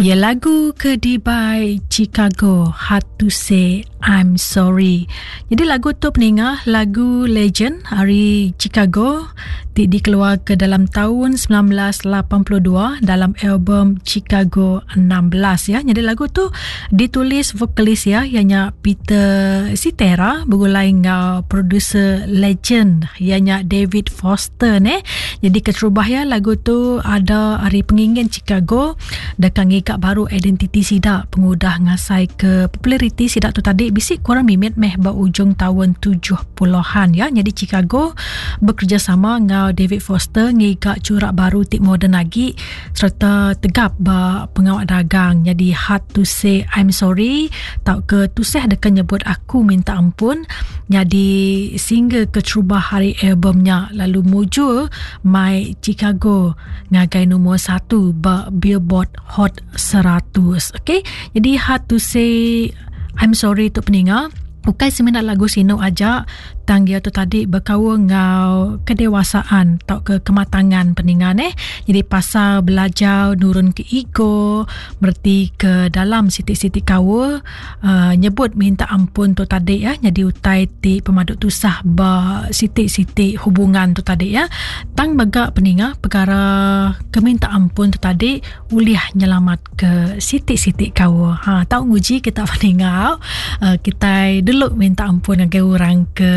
Ya lagu ke dibai Chicago Hard to Say I'm Sorry. Jadi lagu tu peninga lagu legend ari Chicago ti dikeluar ke dalam tahun 1982 dalam album Chicago 16 ya. Jadi lagu tu ditulis vokalis ya ianya Peter Cetera begulai enggau producer legend ianya David Foster ne. Jadi keterubah ya lagu tu ada ari pengingin Chicago deka ngiga baru identiti sida pengudah ngasaika populariti sida tu tadi bisi kurang mimit meh ba ujung taun 70-an ya. Nyadi Chicago bekerejasama enggau David Foster ngiga churak baru ti moden agi sereta tegap ba pengawa dagang. Nyadi Hard to Say I'm Sorry tauka tusah deka nyebut aku minta ampun nyadi single keterubah ari album nya lalu mujur mai Chicago ngagai nombor satu ba Billboard Hot 100. Okey, jadi hard to say I'm sorry tu peninga. Ukai semina lagu sinu aja, tang dia tu tadi bekaul enggau kedewasaan tauka kematangan peninga neh. Jadi pasal belajar nurun ke ego, mereti ke dalam siti-siti kaul, uh, nyebut minta ampun tu tadi ya nyadi utai ti pemadu tusah ba siti-siti hubungan tu tadi ya tang mega peninga perkara ke minta ampun tu tadi ulih nyelamat ke siti-siti kaul ha tau nguji kita peninga uh, kita dulu minta ampun ngagai orang ke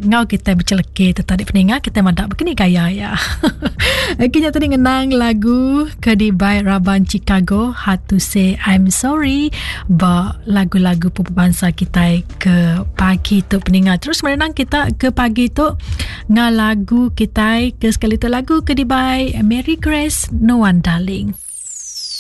ngau kita beceleke tu tadi peninga kita madak bekeni gaya ya Okey nya tadi ngenang lagu ke dibai raban Chicago Hard to Say I'm Sorry ba lagu-lagu pupu bansa kitai ke pagi tu peninga. Terus merenang kita ke pagi tu ngah lagu kitai ke sekali tu lagu ke dibai Mary Grace No One Darling.